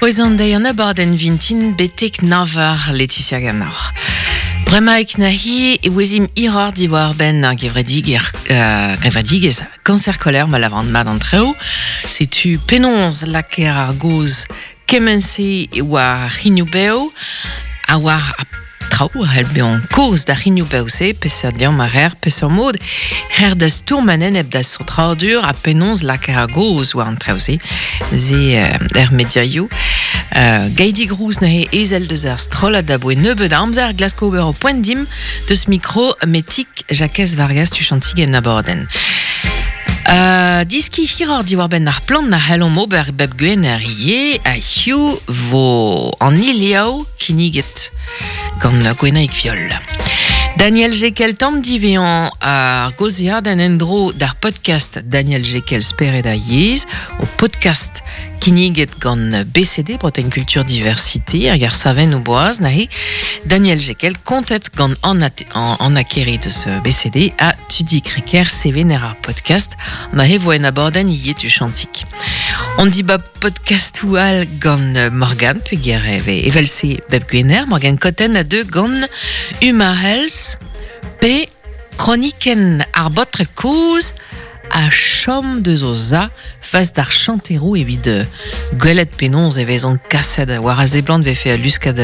Oez an deiz an abadenn vintin betek navar Laetitia Ganoc'h. Bremaik nahi e ouezimp hiroc'h diwar-benn ar gevredigezh Cancer Colère ma lavaran mat an traoù. Setu penaos lakaer ar gaoz Kement-se e oa ar c'hrignoù-bev ha war ar traoù a c'hell bezañ kaoz d'ar c'hrignoù-bev-se, peseurt liamm a reer, peseurt mod reer da stourm en-enep da saotradur ha penaos lakaer ar gaoz war an traoù-se neuze er mediaioù. Gaidi Grouz neuze ezel deus ar strollad aboe nebeut amzer glasko ober o poent dimp deus mikro Metig Jakez Vargas tuchantig en abadenn. Diskiñ hiroc'h diwar-benn ar plant a c'hellomp ober bep gwener ivez ha hiziv vo an iliav kinniget gant Gwenaig Viol. Daniel Jekel tamm divezhañ ar gaozeadenn en-dro d'ar podcast Daniel Jekel Spered ha Yezh, o podcast kinniget gant BCD, Bretagne Culture Diversité, hag ar savennoù boaz neuze. Daniel Jekel kontet gant Anna Kere deus BCD ha Tudi Kreker, sevener ar podcast, neuze vo en abadenn ivez tuchantik. On dibab podcastoù all gant Morgane peogwir e vez evel-se bep gwener. Morgane Cotten a deu gant Uma Health pe kronikenn ar baotred kozh a chom deus o za fas d'ar chanteroù evit gwelet penaos e vezont kaset war a seblant vefe al luskad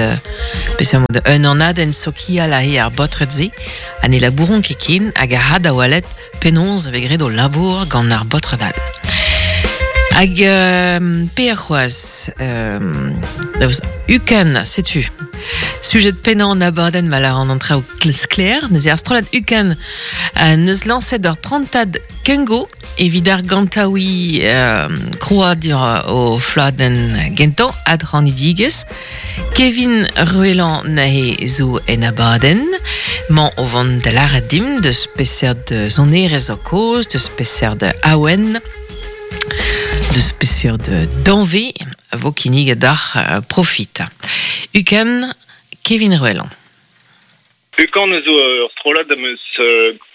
peseurt mod un anadenn sokial aze ar baotred-se ha ne labouront ket ken hag a ra da welet penaos e vez graet o labour gant ar baotred all. Hag per c'hoazh Ukan, setu sujet pennañ an abadenn ma lâran an traoù sklaer. Neuze ar strollad Ukan neus lañset ur prantad kengo evit argantaouiñ krouadur o fladenn gentañ adc'hanidigezh. Kevin Ruellan neuze zo en abadenn. Mañ o vont da lâret dimp deus peseurt sonerezh zo kaoz, deus peseurt awen, deus peseurt danvez a vo kinniget deoc'h profit. Ukan Kevin Ruellan. Ukan zo ur strollad am eus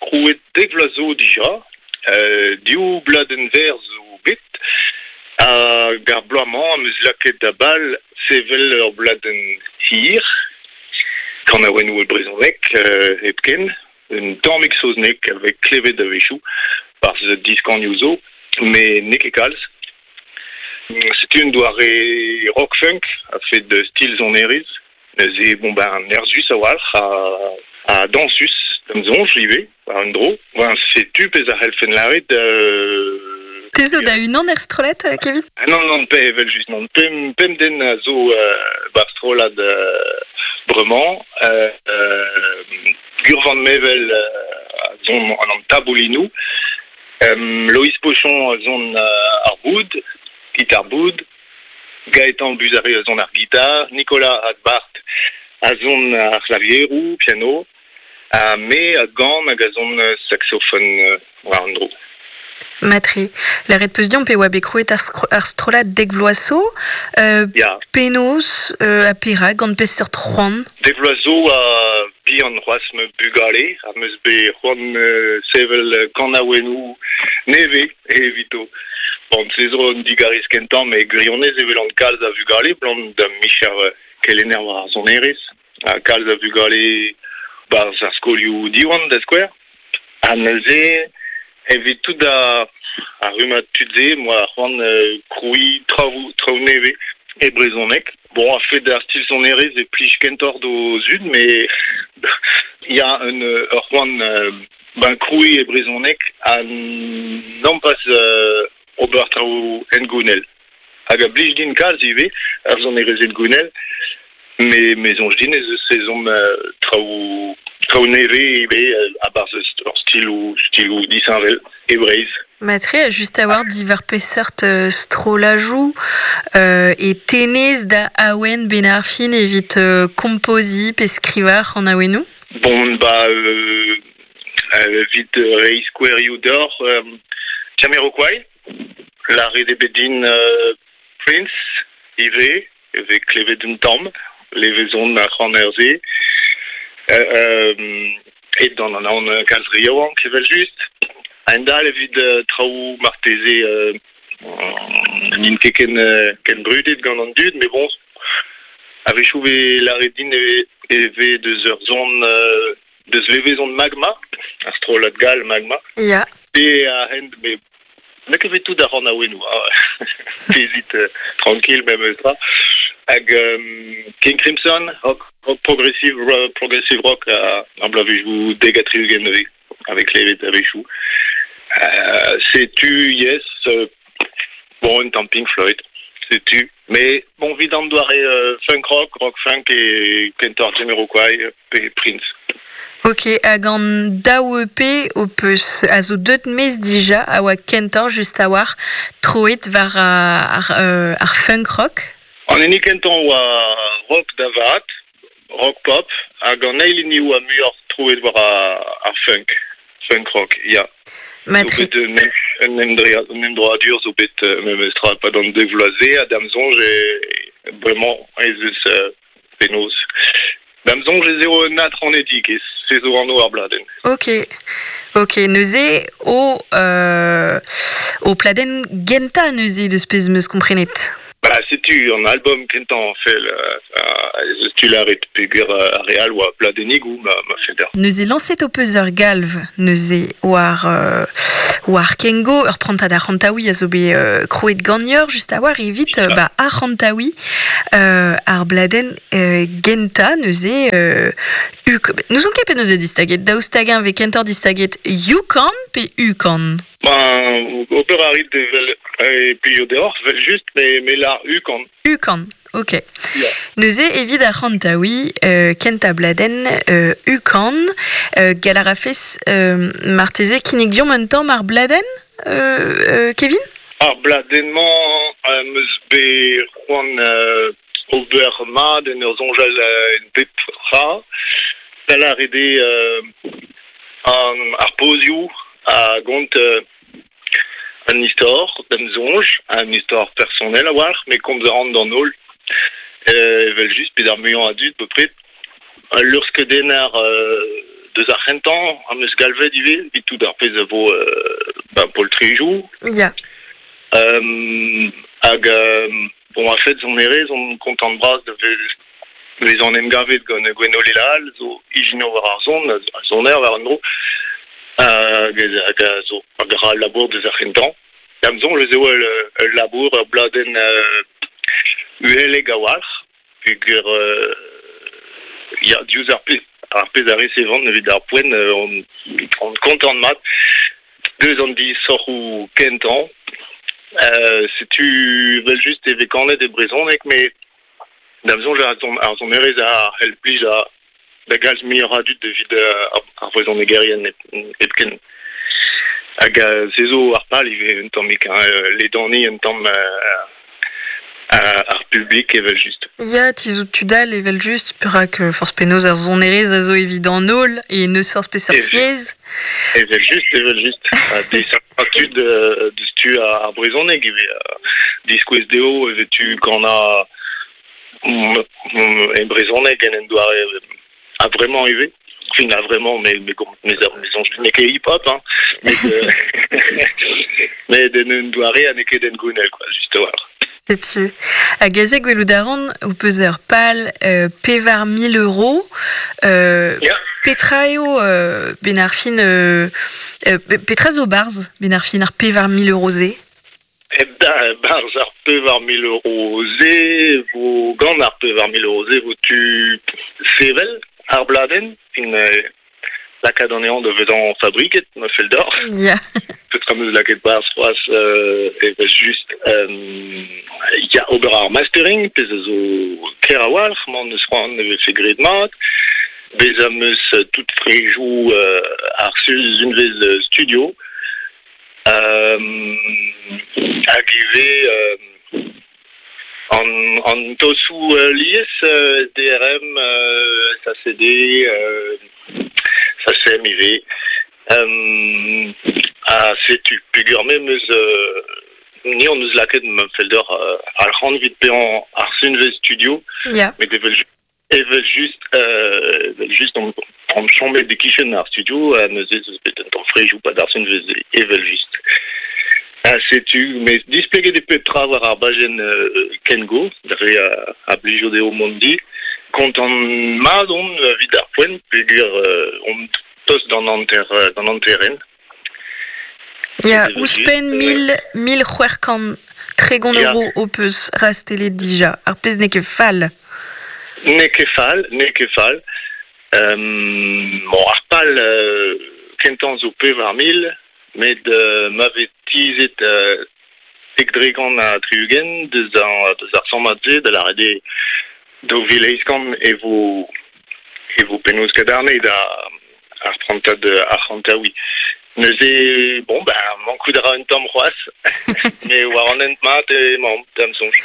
krouet dek vloaz zo dija. Div bladenn verr zo bet. Hag ar bloaz-mañ am eus lakaet da bal sevel ur bladenn hir, kanaouennoù e brezhoneg hepken, un tammig saozneg a vez klevet a-wechoù 'barzh diskanioù zo, met n'eo ket kalz. Setu un doare rock-funk a-fet stil sonerezh. Neuze bon ben nerzhus a-walc'h ha dañsus da'm soñj ivez war un dro. Ben setu pezh a c'hellfen lâret. Te zo da-unan er strollad, Kevin? Non, non, pe evel-just non. Pemp den a zo ba'r strollad bremañ. Gurvan Mevel a son an taboulinoù. Loïs Pochon a son ar boud, gitar boud. Gaëtan Buzaré a son ar gitar, Nicolas Hadbart a son ar c'hlavieroù, piano, ha me a gan hag a son saksofon war an dro. Matre. Lâret 'peus deomp e oa bet krouet ar strollad dek vloaz zo. Ya. Penaos ha perak, gant peseurt c'hoant? Dek vloaz zo a bihan c'hoazh ma bugale am eus bet c'hoant sevel kanaouennoù nevez evito. Bon, se zo un digarez kentañ, met gwirionez e welan kalz a vugale, 'blam da micher kelenner war ar sonerezh, ha kalz a vugale 'barzh ar skolioù Diwan, da skouer. Ha neuze, evit tout ar rummad tud-se, 'm boa c'hoant krouiñ traoù traoù nevez e brezhoneg. Bon, a-fet ar stil sonerezh e plij kentoc'h d'o zud, met ya, un ur c'hoant Ben krouiñ e brezhoneg ha nompas ober traoù hengounel. Hag a blij din kalz ivez ar sonerezh hengounel, met me soñj din ez eus ezhomm traoù traoù nevez ivez a-barzh ur stiloù stiloù disheñvel e Breizh. Matre, just a-walc'h diwar peseurt strollajoù e tennez da awen benn ar fin evit kompoziñ pe skrivañ ar c'hanaouennoù? Bon, ba, evit reiñ skouerioù deoc'h, Jamiroquai, lâret eo bet din Prince ivez, e vez klevet un tamm, levezon ar c'haner-se. Aet gant an anv kalz re yaouank evel-just. A-hend-all evit traoù marteze N'int ket ken, ken brudet gant an dud, met bon, a-wechoù 'vez lâret din e vez deus ur son deus levezon Magma, ar strollad gall Magma. Ya. Pe a-hent, met n'eo ket bet tout ar c'hanaouennoù, hein. Bezit tranquille memes tra. Hag King Crimson, rock, rock progressive, progressive rock ar bloavezhioù 70 a vez klevet a-wechoù. Setu, yes, bon, un tamm Pink Floyd, setu. Mais bon, 'vit an doare funk rock, rock funk e kentoc'h Jamiroquai pe Prince. Ok, hag an daou EP ho peus a zo deut maez dija a oa kentoc'h just a-walc'h troet war ar funk rock? An hini kentañ oa rock da vat, rock pop, hag an eil hini oa muioc'h troet war ar funk, funk rock, ya. Matre. Zo bet un emdroadur zo bet memestra e-pad an dek vloaz-se, ha da'm soñj e bremañ ez eus penaos. Da'm soñj ez eo un adc'hanedigezh, se zo anv ar bladenn. Ok, ok, neuze o ho pladenn gentañ neuze deus pezh 'm eus komprenet. Ba setu an album kentañ fell ez eus tu lâret peogwir ar re all oa pladennigoù ma ma fell deoc'h. Neuze lañset ho peus ur galv neuze war war Kengo, ur prantad arc'hantaouiñ a zo bet krouet ganeoc'h just a-walc'h evit ba arc'hantaouiñ ar bladenn gentañ neuze N'ouzon ket penaos eo distaget, daoust hag-eñ 'vez kentoc'h distaget Yukon pe Ukan? Ben, ober a rit evel e plijo deoc'h, evel-just, met me lâr Ukan. Ukan, ok. Ya. Neuze, evit ar c'hantaouiñ, kentañ bladenn Ukan, gall a rafes marteze kinnig deomp un tamm ar bladenn, Kevin? Ar bladenn-mañ am eus bet c'hoant ober mat en ur soñjal en pep tra. Da lâret eo ar pozioù a gont un istor, da'm soñj, un istor personel a-walc'h, met komz a ran d'an holl evel-just, bet ar muiañ a dud bepred. Al luc'hskeudenner deus ar c'hentañ am eus galvet ivez evit tout ar pezh a vo ba poltrejoù. Ya. Hag bon, a-fet sonerezh on kontant-bras da vezañ en em gavet gant Gwenole Laal, zo ijinour war ar son, ha soner war an dro, hag a zo hag a ra al labour deus ar c'hentañ. Da'm soñj ez eo ul labour, ur bladenn uhelek a-walc'h, peogwir ya, diouzh ar pezh ar pezh a resevan evit ar poent on on kontant mat. Deus an disoc'hoù kentañ, setu evel-just e vez kanet e brezhoneg met da'm soñj ar sonerezh a c'hell plijañ da galz muioc'h a dud evit ar vrezhonegerien hepken. Hag se zo ar pal ivez un tammig, hein, ledaniñ un tamm ar publik evel-just. Ya, tizhout tud all evel-just, perak forzh penaos ar sonerezh a zo evit an holl e n'eus forzh peseurt yezh. Evel-just, evel-just. Ha desachañ tud deus tu ar brezhoneg ivez. Diskouez dezho e vez tu kanañ e brezhoneg en un doare a-vremañ ivez. Fin a-vremañ, mais mais mais soñj n'eo ket hip-hop, hein, met met en un doare ha n'eo ket hengounel, quoi, just a-walc'h. Setu. Hag aze gwelout a ran ho peus ur pal 4000 euros. Petra eo ben ar fin petra zo 'barzh ben ar fin ar 4000 euro-se? Barzh ar 4000 euro-se vo gant ar 4000 euro-se vo tu sevel ar bladenn fin lakaat anezhañ da vezañ fabriket ma fell deoc'h. Ya. Petra 'm eus lakaet 'barzh c'hoazh evel-just ya ober ar mastering pezh a zo ker a-walc'h m'en deus c'hoant e vefe graet mat. Bezañ 'm eus tout frejoù ar sizhunvezh studio. Hag ivez an tosoù lies SDRM, SACD, SACEM ivez. Ha setu peogwir me 'm eus ni hon eus lakaet ma fell deoc'h arc'hant evit paeañ ar sunvezh studio. Ya. Met evel-just Evel-just, evel-just on on chomet e-kichen ar studio ha neuze ez eus bet un tamm frejoù pa darzhun veze evel-just. Ha setu, met displeget eo pep tra war ar bajenn Kengo, dre a blijo dezho mont di. Kontant mat on evit ar poent peogwir on tost d'an hanter d'an hanterenn. Ya, ouzhpenn 1630 euro ho peus rastellet dija, ar pezh n'eo ket fall. N'eo ket fall, n'eo ket fall. Bon, ar pal kentañ zo 4000, met ma vez tizhet 70% deus ar sammad-se, da lâret eo 2800 e vo e vo penaos kadarnaet ar prantad arc'hantaouiñ. Neuze, bon, ben, mankout a ra un tamm c'hoazh, met war an hent mat emaomp, da'm soñj.